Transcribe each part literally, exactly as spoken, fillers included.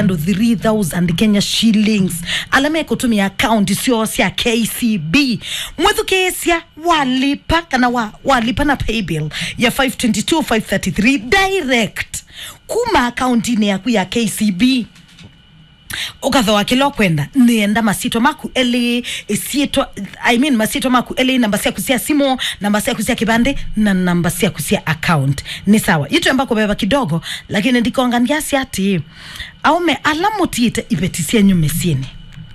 andũ three thousand Kenya shillings ala mekũtũmĩa account syoo sya K C B. Mwĩthukĩĩsya, walipa kana wa, walipa na paybill ya five twenty-two five thirty-three direct kuma akauntinĩ yaku ya K C B. Ũkathoa kĩla ũkwenda, nĩenda masyĩtwa maku elĩ, ĩsyĩtwa, I mean, masyĩtwa maku elĩ, namba syaku sya simũ, namba syaku sya kĩvandĩ, na namba syaku sya account. Nĩ sawa. Yu twemba kũveva kidogo, lakini ndikonga ndyasya atĩ, aũme ala mũtiĩte iveti syenyu mĩsyĩnĩ.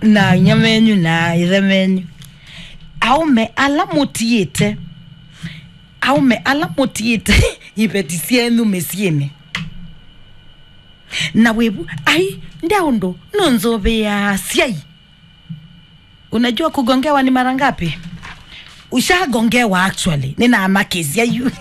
Na inyia menyu na ithe menyu. Aũme ala mũtiĩte, aũme ala mũtiĩte iveti syenyu mĩsyĩnĩ. Na wĩvu, ai, nde ũndũ nũnzũvĩaa asyai. Unajua kugongewa ni mara ngapi? Ushagongewa actually. Nĩnamakĩsya yu.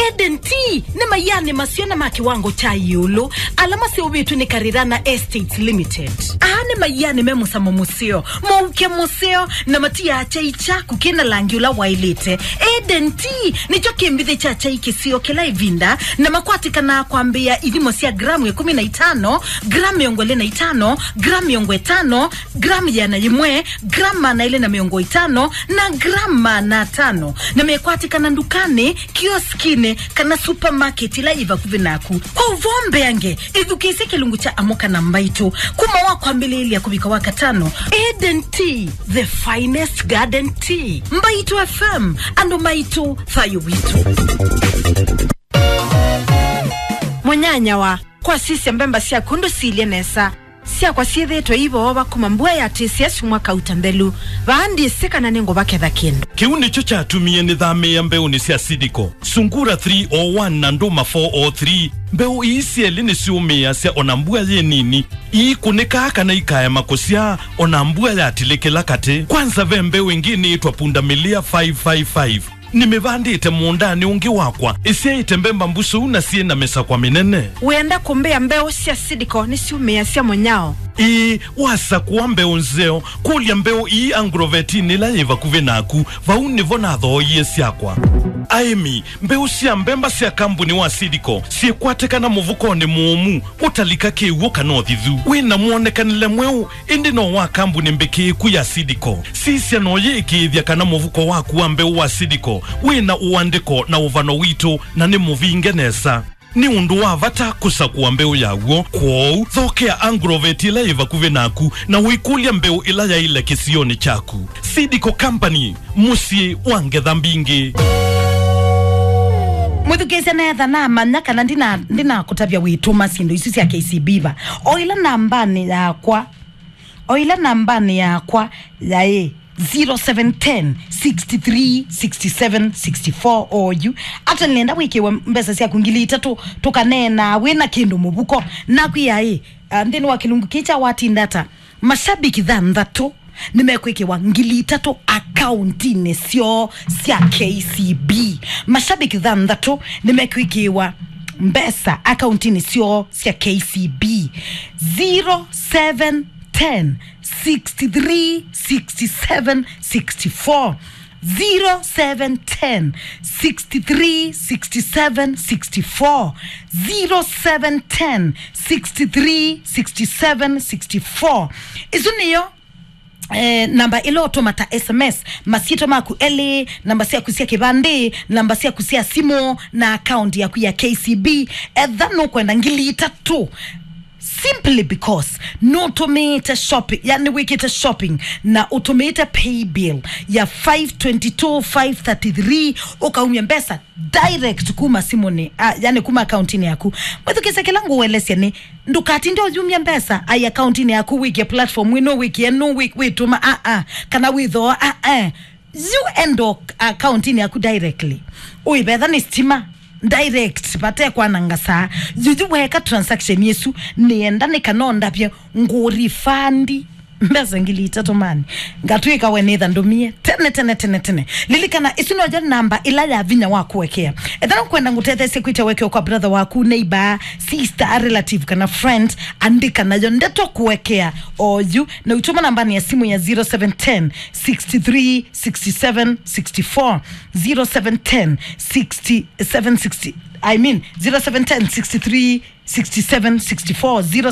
Eden Tea nĩ maianĩ maseo na ma kĩwango kya ĩũlũ ala maseũvĩtw'e nĩ Karirana Estates Limited. Aa nĩ maianĩ me mũsamo mũseo, mũuke mũseo, na matiaa kyai kyaku kĩna langi ũla waĩlĩte. Eden Tea nĩkyo kĩmbithĩ kya kyai kĩseo kĩla ĩvinda, na makwatĩkanaa kwambĩĩa ithimo sya gramu ĩkũmi na itano, gramu mĩongo ĩlĩ na itano, gramu mĩongo ĩtano, gramu ĩana yĩmwe, gramu maana elĩ na mĩongo ĩtano, na gramu maana atano. Na mekwatĩkana ndukanĩ, kioskinĩ, kana supermarket ĩla yĩ vakuvĩ naku. Kwa ũvoo mbeange, ĩthukĩĩsye kĩlungu kya Amũka na Mbaitũ, kuma wa kwambĩlĩĩlya kũvika wa katano. Eden Tea, the finest garden tea. Mbaitũ F M, andũ maitũ, thayũ witũ. Mũnyanyawa, kwasisya mbemba syaku ndũsilye nesa. Syakwa syĩthĩĩtwe iivoova kuma mbua yatĩsya syumwa kauta nthelu. Vaa ndyĩsĩ kana nĩngũvaketha kĩndũ. Kĩu nĩkyo kyatumie nĩthamĩĩa mbeũnĩ sya Seedco, Sungura three oh one na Ndũma four oh three. Mbeũ ii syelĩ nĩsyũmĩĩasya o na mbua yĩ nini. Iikũnĩkaa kana ikaema kũsyaa o na mbua yatilĩkĩla katĩ. Kwanza ve mbeũ ĩngĩ nĩĩtwa Pundamilia five five five. Nĩmĩvandĩte mũũndanĩ ũngĩ wakwa, ĩsyaĩte mbemba mbusũu na syĩ na mĩsakwa mĩnene. Wĩenda kũmbĩa mbeũ sya Seedco nĩsyũmĩĩasya mũnyao? Ĩĩ, wasakũa mbeũ nzeo, kũlya mbeũ ii Agrovetinĩ ĩla yĩ vakuvĩ naku. Vau nĩvo nathooie syakwa. Aĩmi, mbeũ sya mbemba sya kambuni wa Seedco syĩkwatĩkana mũvukonĩ mũũmu, ũtalika kĩw'ũ kana ũthithu. Wĩ na mwonekanĩle mweũ, ĩndĩ no wa kambuni mbĩkĩĩku ya Seedco. Sisya na ũyĩĩkĩĩthya kana mũvuko waku wa mbeũ wa Seedco wĩ na ũandĩko na ũvano witũ na nĩ mũvinge nesa. Nĩ ũndũ wa vata kũsakũa mbeũ yaw'o, kwoou thokea Agrovet ĩla yĩ vakuvĩ naku na ũikũlya mbeũ ĩla yaĩle kĩsionĩ kyaku. Seedco Company, mũsyĩ wa ngetha mbingĩ. Mwĩthukĩĩsya nesa, namanya kana ndina-, ndinakũtavya wĩtũma syĩndũ isu sya K C B va. O ĩla nambanĩ yakwa, o ĩla nambanĩ yakwa yaĩ zero seven ten, six three, six seven, six four oyu. Ata nĩenda wĩkĩwe mbesa syaku ngili itatũ, tũkaneena wĩ na kĩndũ mũvuko. Nakwĩa ĩ, ah, nthĩnĩ wa kĩlungu kĩĩ kya watinda ata, mashabiki thanthatũ nĩmekwĩkĩwa ngili itatũ akauntinĩ syoo sya K C B. Mashabiki thanthatũ nĩmekwĩkĩwa mbesa akauntinĩ syoo sya K C B. Zero seven ten, six three, six seven, six four. Zero seven ten, six three, six seven, six four. Zero seven ten, six three, six seven, six four. Isu nĩyo, eh, namba ĩla ũtũma ta S M S, masyĩtwa maku elĩ, namba syaku sya kĩvandĩ, namba syaku sya simũ, na account yaku ya K C B. Etha nũkwenda ngili itatũ simply because nũtũmĩĩte shopping, yani wĩkĩte shopping na ũtũmĩĩte pay bill ya five twenty-two five thirty-three, ũkaumya mbesa direct kuma simũnĩ, ah, yani kuma akauntinĩ yaku. Mwĩthukĩĩsye kĩla ngũũelesya nĩ, ndũkatinde ũyumya mbesa ai akauntinĩ yaku, wĩkĩe platform ĩno, wĩkĩe nũ, wĩ-, wĩtũma, ah, ah, kana wĩthooa, ah, ah. Yu enda akauntinĩ yaku directly. Ũivetha nĩ stima, direct, vate kwananga saa. Yuyu weka transaction ĩsu, nĩenda nĩ kana ũndavye ngũrifandi mbesa ngili itatũ mani. Ngatwĩka we nĩtha ndũmie tene, tene, tene, tene. Lilikana, ĩsu noyo namba ĩla ya vinya wa kũekea. Ethĩwa nũkwenda ngũtetheesye kwĩtya wekeo kwa brother waku, neighbor, sister, relative, kana friend, andĩka nayo ndeto kũekea oyu, na ũitũma nambanĩ ya simũ ya zero seven ten, six three, six seven, six four, zero seven ten, six seven, six, I mean, zero seven ten, six three, six seven, six four, zero seven